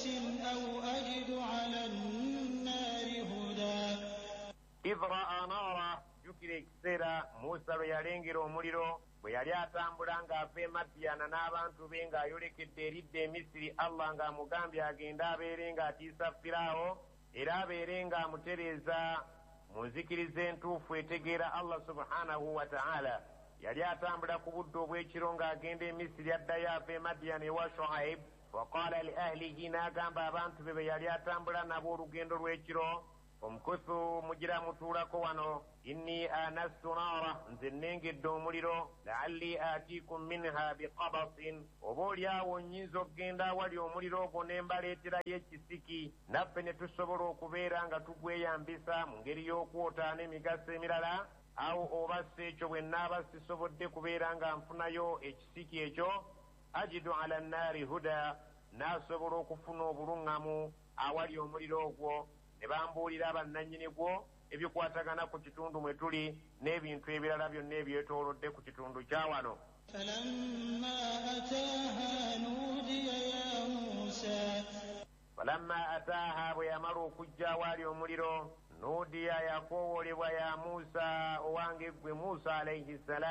بقبس أو أجد على النار هدى. Idh raa naara, jjukira ekiseera Musa lwe yalengera omuliro bwe yali atambula ng'ava e Madiyana n'abantu be ng'ayolekedde eridda e Misiri, Allah ng'amugambye agende abeere ng'atiisa Firaawo era abeere ng'amutereeza mu nzikiriza entuufu etegeera Allah subhanahu wa ta'ala. Yali atambula ku budde obw'ekiro ng'agenda e Misiri addayo ava e Madiyana ewa Shuaib. Waqaala li ahlihi, n'agamba abantu be be yali atambula nabo olugendo lw'ekiro, omukuthu mugira mutuulako wano, inni anastu naara, nze nnengedde omuliro, laalli aatiikum minha biqabasin, oba oliawo nnyinza okugenda awali omuliro ogwo ne mbaleeterayo ekisiki, naffe ne tusobola okubeera nga tugweyambisa mu ngeri y'okwota n'emigaso emirala. Awo oba si ekyo bwe nnaaba sisobodde kubeera nga nfunayo ekisiki ekyo, ajidu ala nnaari huda, naasobola okufuna obuluŋŋamu awali omuliro ogwo, ne bambuulira bannannyini gwo ebikwatagana ku kitundu mwe tuli n'ebintu ebirala byonna ebyetoolodde ku kitundu kya wano. Falamma ataaha nuudiya ya Musa. Falamma ataaha, bwe yamala okujja awali omuliro, nuudiya yakoowoolebwa ya Musa, owange ggwe Musa alayhi ssalaamu.